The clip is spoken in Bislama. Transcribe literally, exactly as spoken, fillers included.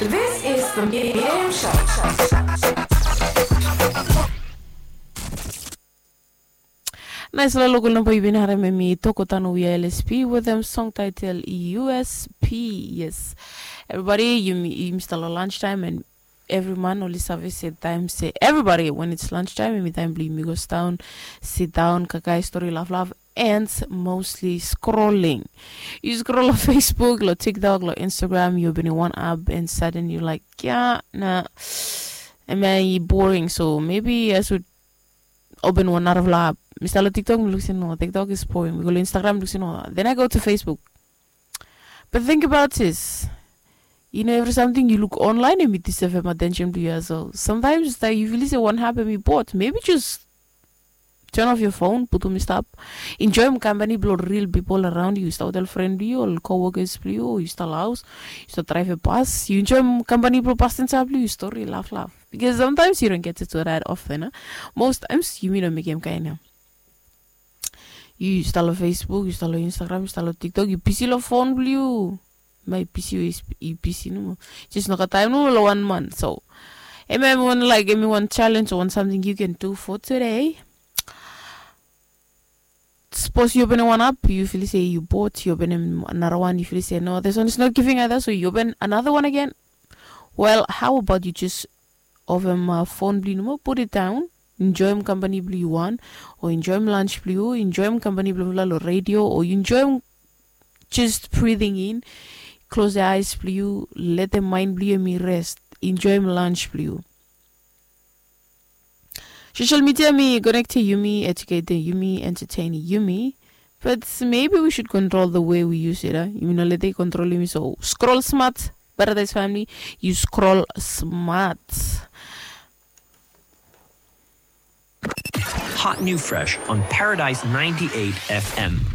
This is the Miriam Show. Naisfala lokol namba yu bin harem, em i Toko Tanu we are L S P wetem song title U S P. Yes, everybody, yumi stap long lunch time, and evri man oli save se taem se everybody, when it's lunch time, em i taem blong yumi go sidaon, sidaon, kaikai stori, laflaf, and mostly scrolling. Yu scroll long Facebook, long TikTok, long Instagram, yu openem wan app, and sudden yu like, ya na, em ya i boring, so maybe I should open wan narafala app. Mi stap long TikTok, mi luk se no, TikTok is boring. Mi go long Instagram, mi luk se no, then I go to Facebook. But think about this. You know, evri samting yu luk online, em i deserve attention blong yu as well. Sometimes taem yu feel se wan app em i bored, maybe just turn off your phone, putum i stap. Enjoem company blong real people around yu. Yu stap wetem ol fren blong yu, ol co-workers blong yu, o yu stap long haos, yu stap draevem bas, yu enjoem company blong pasenja blong yu, stori, laflaf. Because sometimes you don't get to do that often, eh? Most times yumi no mekem kaen ya. Yu stap long Facebook, yu stap long Instagram, yu stap long TikTok, yu bisi long fon blong yu. Em ya i bisi we i bisi nomo. Jes no gat taem nomo long wan man. So em ya em i wan, like, em i wan challenge o wan samting you can do for today. Sapos yu openem wan app, yu feel se yu bored, yu openem nara wan, yu feel se no, this one is not giving either, so yu open another one again. Well, how about you just ovem fon blong yu nomo, put it down, enjoem company blong yu wan, o enjoem lunch blong yu, enjoem company blong yu long radio, o yu enjoem just breathing in, close the eyes blong yu, letem mind blong yu em i rest, enjoem lunch blong yu. Social media em i connectem yumi, educatem yumi, entertaining yumi. But maybe we should control the way we use it, eh? Yumi no letem i control yumi, so scroll smart, Paradise family, yu scroll smart. Hot new fresh on Paradise ninety-eight F M.